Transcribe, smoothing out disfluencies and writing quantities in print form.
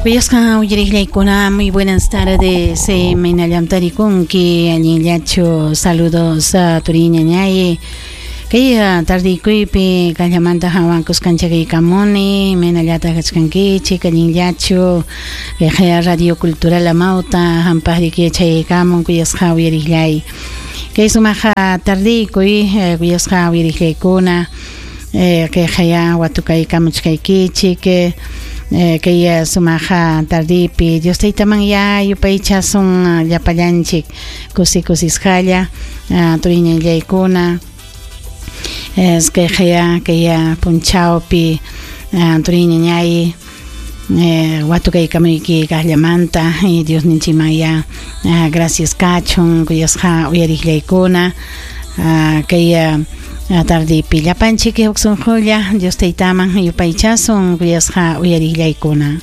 Kuyasqa uyariqllaykuna, muy buenas tardes. Imaynallam tarikunki, allinllachu? Saludos turiy ñañay. Kay tardiykuypi kallamanta hawan kuskanchakaykamuni, imaynallataq kachkankichik, allinllachu? Kayqa Radio Cultural Amauta hampaqriki yachaykamun kuyasqa uyariqllay. Kay sumaq tardiykuy kuyasqa uyariqllaykuna. Kayqaya watukaykamuchkaykichik kay sumaq tardipi Dios Taytamanyá yupaychasun llapallanchik kusi kusisqalla turiñallaykuna kayqaya kay punchawpi turiñañay watukaykamuyki kaqllamanta Diosninchikmanyá gracias kachun kuyasqa uyariqllaykuna kay tardipi llapanchik huk sunqulla Dios Taytaman yupaychasun kuyasqa uyariqllaykuna.